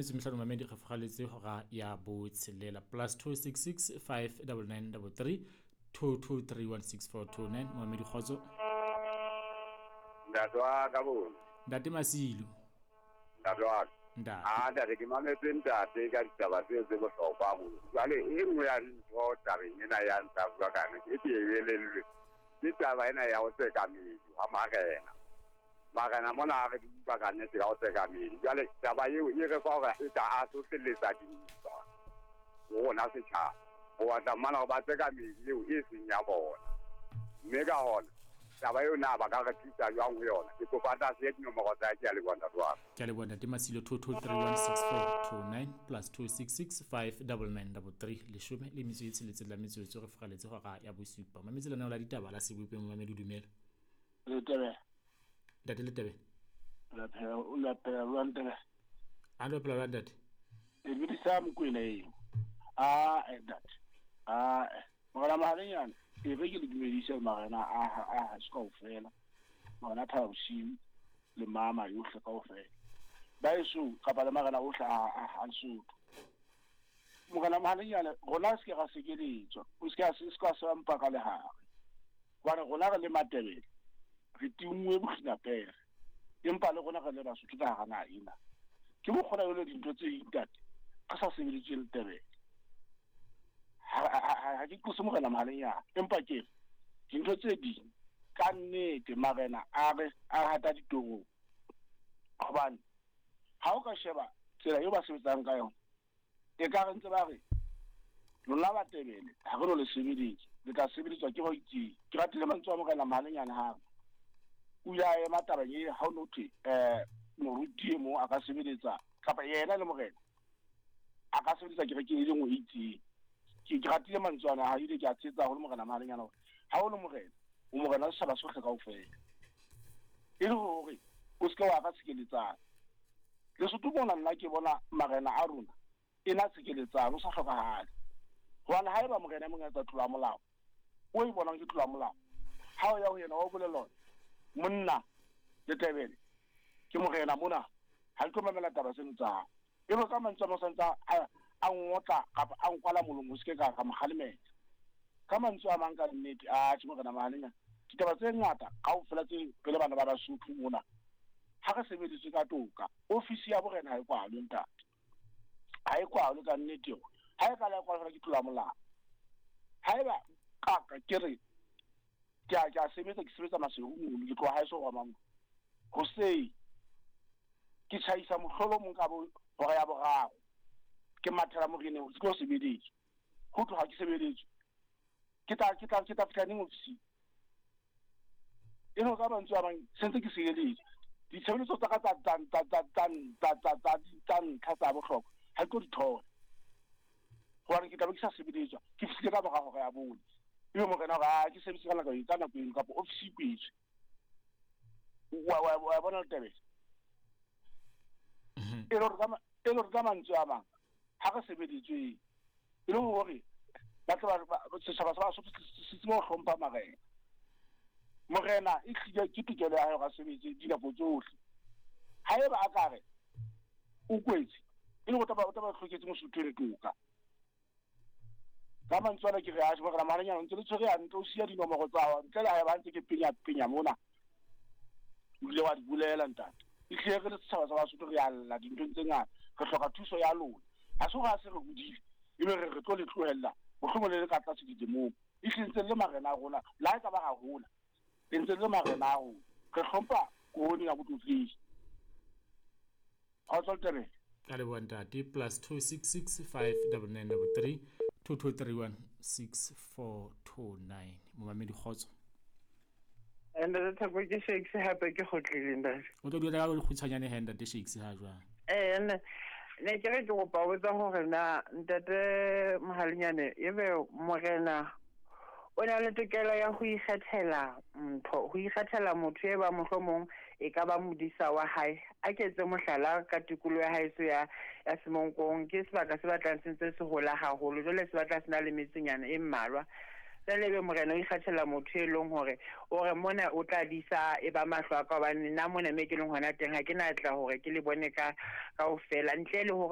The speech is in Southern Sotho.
Metso mehlano mamedi re fogaletse hora ya botshelela. +266 599 33 22316429. Mamedi kgotso. Ntate wa ka bo. Ntate Masilo. Ntate wa ka. Ntate. Ah, ntate ke mametse ntate ka ditaba tseo tse bohlokwa haholo. Jwale e nngwe ya dintho tabeng ena ya ntsa bua ka yona, e ke e elellwe. Ke taba ena ya ho tseka meedi wa marena. Marena mona ha re di utlwa ka nnete ya ho tseka meedi. Jwale taba eo e re fa hore e ka a hlohleletsa dintwa ho rona setjhaba. Ho batla mmana hore ba tseka meedi eo e seng ya bona. Mme ka hona taba eo na ba ka re thusa jwang ho yona? Ke kopa tlase ya dinomoro tsa ke a leboha ntate wa ka. Ke a leboha ntate Masilo. 22316429 +266 599 33 leshome le metso e tsheletseng la metsotso re fogaletse hora ya bosupa. Mametse lenaneo la ditaba la Sebopeng mamedi dumela. Letebe. Ntate Letebe. La phela o la phela jwang Tebe? A lo phela jwang ntate? E bidisa Mokwena eo. Ah, ntate. Ah, morena Mahalenyana, e re ke le dumedise marena a haso kaofela. Marena Thaba Bosiu le mama yohle kaofela. Ba eso kapa le marena ohle a Lesotho. Morena Mahalenyana, rona se ke ra sekeletswa. O se ke se ka se mpa ka lehare. Hobane rona re le Matebele, re tinngwe bokginapere. Empa le rona re le Basotho ka hara naha ena. Ke mokgona jwale dintho tse ding ntate, re sa sebeditswe Letebele. Ha ke qose morena Mahalenyana, empa ke re dintho tse ding ka nnete marena a re a hata ditorong. Hobane ha o ka sheba tsela eo ba sebetsang ka yona, e ka re ntse ba re lona Batebele ha re no le sebeletsa, le tla sebeletswa ke ba itseng. Ke ratile mantswe a morena Mahalenyana hape. O ile a ema tabeng e ha o no thwe moruti e mong a ka sebeletsa kapa yena le morena a ka sebeletsa kerekeng e le nngwe e itseng. Ke ratile mantswe ana, ha ile ke a tshetsa haholo morena Mahalenyana hore ha o le morena, o morena wa setjhaba sohle kaofela. E le hore o se ke wa ka tshikeletsana. Lesotho mona nna ke bona marena a rona e na tshikeletsano o sa hlokahale. Hobane haeba morena e mong a etsa tlolo ya molao, o e bonang ke tlolo ya molao, ha o ya ho yena wa o bolella hore monna Letebele ke morena mona, ha ke tlo mamela taba tseno tsa hao. Ebe ka mantswe a mang santse a ngotla kapa a nkwala molomo, o se ke ka mo kgalemela. Ka mantswe a mang ka nnete, atjhe morena Mahalenyana, ditaba tse ngata kaofela tse re le bana ba Basotho mona, ha re sebeditswe ka toka, ofisi ya borena ha e kwalwe ntate. Ha e kwalwe ka nnete yona. Ha e ka la e kwalwa fela ke tlolo ya molao. Haeba kaka ke re ke a sebetsa, ke sebetsa Maseru mono, ke tloha haeso hwa Mango. Hoseng ke tjhaisa mohlolo mong ka bo hora ya boraro. Ke mathela moreneng ke tlo sebeletswa. Ho tloha ke sebeletswe. Ke tla fihla neng ofising? E le ka mantswe a mang sentse ke sebeletswa. Ditshebeletso tsa ka tsa ntlha tsa bohlokwa ha ke tlo di thola. Hobane ke tla be ke sa sebeletswa, ke fihlile ka mora hora ya bone. Ebe morena hore a ke sebetse ka nako e ka nako eno kapa ofisi e kwetswe. Wa bona Letebele? E le hore ka mantswe a mang ha re sebeditswe e le hore ba tle ba setjhaba sa Basotho se tsebe ho hlompha marena. Morena e hlile ke tokelo ya hae hore a sebetse dinako tsohle. Haeba a ka re o kwetse, e le hore o tla ba hloketse Mosotho le toka. Ka mantswe ana ke re atjhe morena Mahalenyana o ntse le tshwere hantle, o siya dinomoro tsa hao ntle le haeba ntse ke penya penya mona. O ile wa di bolela ntate. Ehlile re le setjhaba sa Basotho re a lla dinthong tse ngata, re hloka thuso ya lona. Ha se hore ha se re hodile ebe re re tlo le tlohella mohlomong le le ka tlase dilemong. Ehlile ntse le marena a rona, le ha e ka ba ra hola, le ntse le marena a rona. Re hlompha korone ya botlotlehi. Kgotso Letebele. Ka leboha ntate. +266 599 33 2231 6429. Momamedi kgotso. Ntate Theko ke Shakes hape ke kgutlile ntate. O tlo dula ka lekgutshwanyane he ntate Shakes ha jwang? Ne ke re ke kopa ho botsa hore na ntate Mohalenyane ebe morena o na le tokelo ya ho ikgethela ntho, ho ikgethela motho e ba mohlomong e ka ba modisa wa hae. A ke etse mohlala ka tikoloho ya haeso ya Semonkong, ke sebaka se batlang se ntse se hola haholo, jwale se batla se na le metsenyana e mmalwa. Jwale ebe morena o ikgethela motho e leng hore o re mona o tla disa e ba mahlo a ka, hobane nna mona me ke leng hona teng ha ke na tla hore ke le bone ka kaofela, ntle le hore